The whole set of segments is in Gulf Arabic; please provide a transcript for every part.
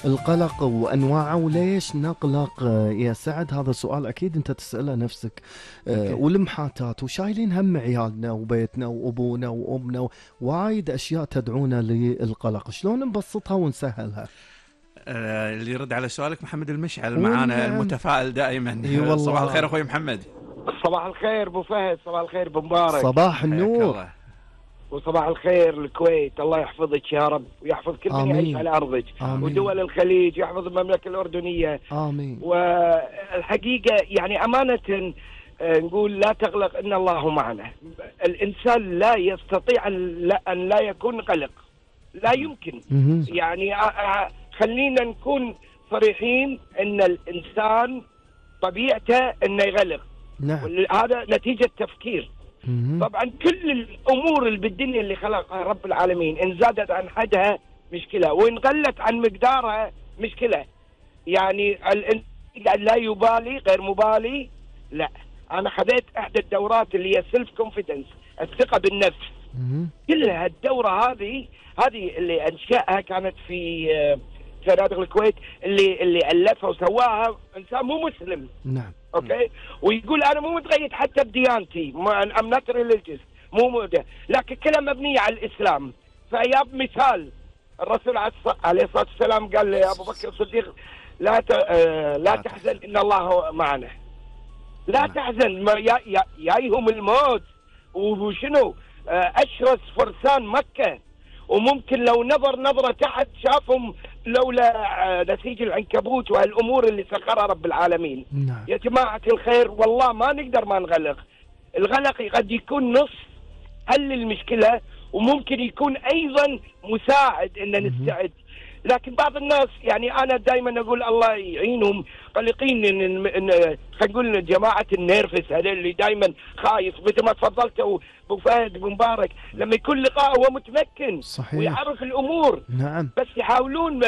القلق وأنواعه وليش نقلق يا سعد؟ هذا سؤال أكيد أنت تسأله نفسك. والمحاتات وشايلين هم عيالنا وبيتنا وأبونا وأمنا وايد أشياء تدعونا للقلق. شلون نبسطها ونسهلها؟ اللي يرد على سؤالك محمد المشعل معانا المتفائل دائما. صباح الخير أخوي محمد. صباح الخير أبو فهد، صباح الخير أبو مبارك. صباح النور وصباح الخير الكويت. الله يحفظك يا رب ويحفظ كل من يعيش على أرضك. ودول الخليج، يحفظ المملكة الأردنية. آمين. والحقيقة يعني أمانة نقول لا تقلق إن الله معنا. الإنسان لا يستطيع أن لا يكون قلق، لا يمكن. يعني خلينا نكون صريحين إن الإنسان طبيعته إنه يقلق. نعم. هذا نتيجة تفكير. طبعا كل الأمور اللي بالدنيا اللي خلقها رب العالمين إن زادت عن حدها مشكلة، وإن قلت عن مقدارها مشكلة. يعني لا يبالي، غير مبالي. لا، أنا خذيت إحدى الدورات اللي هي سيلف كونفيدنس، الثقة بالنفس. كلها الدورة هذه اللي أنشأها كانت في فنادق الكويت، اللي ألفها وسواها إنسان مو مسلم. نعم. اوكي. ويقول انا مو متقيد حتى بديانتي، ام نوت ريليجيوس، لكن كلها مبنيه على الاسلام. فياب مثال الرسول عليه الصلاه والسلام قال يا ابو بكر الصديق لا تحزن ان الله معنا. لا تحزن، جايهم الموت وشنو اشرس فرسان مكه، وممكن لو نظر نظره تحت شافهم لولا نسيج العنكبوت وهالامور اللي سخرها رب العالمين. نعم. يا جماعه الخير والله ما نقدر ما نغلق. الغلق قد يكون نص حل المشكله، وممكن يكون ايضا مساعد ان نستعد. لكن بعض الناس يعني انا دائما اقول الله يعينهم قلقين ان خلينا نقول جماعه النيرفس هذول اللي دائما خايف، مثل ما تفضلت ابو فهد ابو مبارك، لما يكون لقاء هو متمكن. صحيح. ويعرف الامور. نعم. بس يحاولون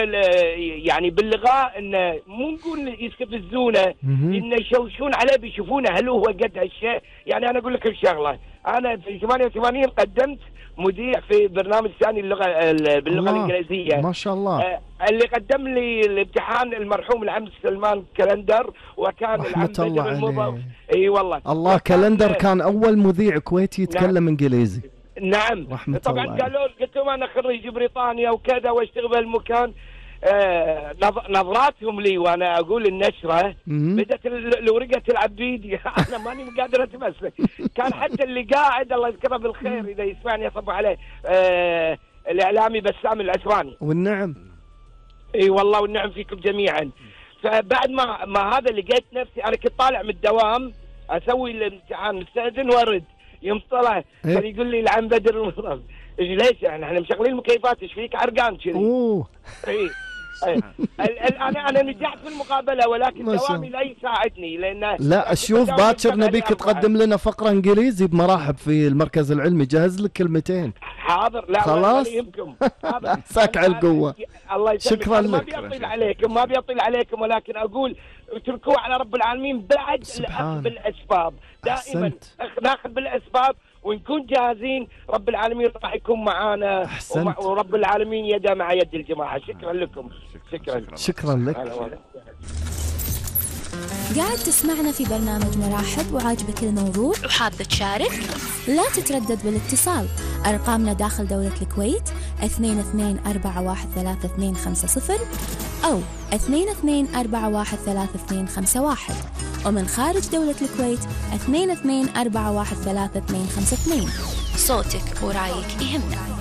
يعني باللغاء انه مو نقول يستفزونه، انه يشوشون عليه، بيشوفونه هل هو قد هالشيء. يعني انا اقول لك الشغله، انا في 88 قدمت مذيع في برنامج ثاني باللغه الانجليزيه. ما شاء الله. اللي قدم لي الامتحان المرحوم العم سلمان كلندر، وكان العم بدر المضر. اي والله. الله كلندر كان اول مذيع كويتي يتكلم انجليزي. نعم. طبعا قلت لهم انا خريج بريطانيا وكذا واشتغل بهالمكان. نظراتهم لي وانا اقول النشره بدت الورقه العبيد. انا ماني قادر اتمسك. كان حتى اللي قاعد الله يذكره بالخير اذا يسمعني يصب عليه الاعلامي بسام العسراني. والنعم. اي والله والنعم فيكم جميعا. فبعد ما هذا لقيت نفسي انا كنت طالع من الدوام اسوي الامتحان مستأذن وارد، يوم طلع كان يقول لي العم بدر المضر ليش احنا مشغلين المكيفات ايش فيك عرقان كذي. انا نجحت في المقابله، ولكن دوامي لا يساعدني لان لا شوف باكر نبيك تقدم لنا فقره انجليزي بمراحب في المركز العلمي، جهز لك كلمتين. حاضر. لا خلاص يمكن. ساك على القوه. الله شكرا لك. ما بيطيل عليكم ولكن اقول اتركوه على رب العالمين بعد الاخذ بالاسباب. دائما ناخذ بالاسباب ونكون جاهزين، رب العالمين راح يكون معانا. ورب العالمين يده مع يد الجماعة. شكرا لكم. شكرا لك. قاعد تسمعنا في برنامج مراحب وعاجبك الموضوع وحاب تشارك؟ لا تتردد بالاتصال. أرقامنا داخل دولة الكويت 22413250 أو 22413251، ومن خارج دولة الكويت 22413252. صوتك ورايك يهمنا.